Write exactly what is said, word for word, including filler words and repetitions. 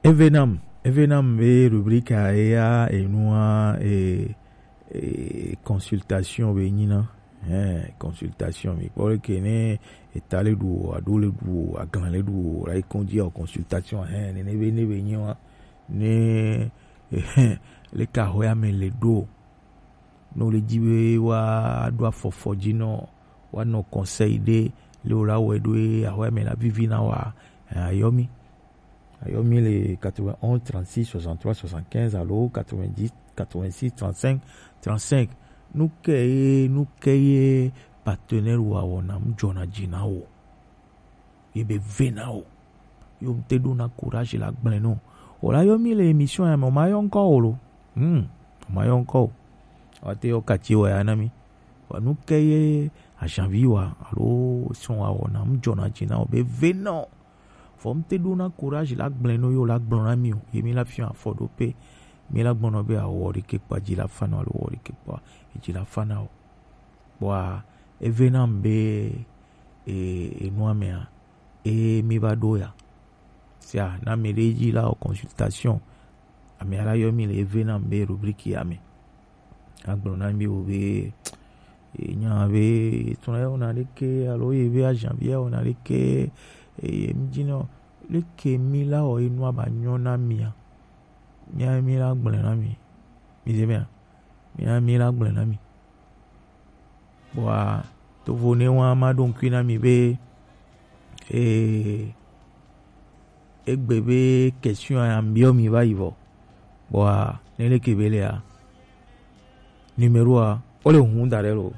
Evenam, Evenam be rubrika eya enua e, e consultation be nyina. Eh, consultation mi kpɔ ke ne eta le ɖu o, aɖo le ɖu o, aglan le ɖu o, la yi kɔn dzi o, consultation, eh, ne ne be ne be nyi wa ne le ka hɔ ya me le ɖo. Ne wole dzi be woaɖo afɔfɔ dzi nɔ, woanɔ conseil ɖe le wòla wɔe ɖo ye ahɔe me la vivi na wa, eh, ayɔ mi. Ayɔ mi le quatre-vingt-onze trente-six soixante-trois soixante-quinze alo quatre-vingt-dix quatre-vingt-six trente-cinq trente-cinq. Nu ke ye, nu ke ye partenaire wa wɔna mu dzɔna dzi na wo. Ye be ve na wo. Yo te ɖo na courage la gblẽ no. O la yɔ mi le émission ya me, o ma yɔ ŋkɔ o lo. Hmm, o ma yɔ ŋkɔ o. Wa te yɔ kati wa ya na mi. Wa nu ke ye ajanvi wa alo sɔn wa wɔna mu dzɔna dzi na wo be ve na wo. Vɔ mi te ɖo na courage la gblẽ no yo la gblɔ na mi o. Ye mi la fiɔ afɔ ɖo pe. Mi la gblɔ nɔ be awɔ ɖe ke kpa dzi la fa na alo wɔ ɖe ke kpa dzi la fa na o. Kpɔa, eve nam be e, enua mea, e mi va ɖo ya. Sia na mi ɖe dzi la o consultation. Ame ara yɔ mi le eve nam be rubrique ya me. Agblɔ na mi o be e nya be e tuna ya ona ɖeke alo ye be ajanvi ya ona ɖeke e mi dzi nɔ ɖeke mi la o enua ba nyɔ na mia. Mia mi la gblɔ na mi. Mi ze mea? Mia mi la gblɔ na mi. Kpɔa, tovo ne wa ma ɖo ŋkui na mi be e egbe be question ya mbiɔ mi va yi vɔ. Kpɔa, ne leke be lea, numéro a o le hun da ɖe lo.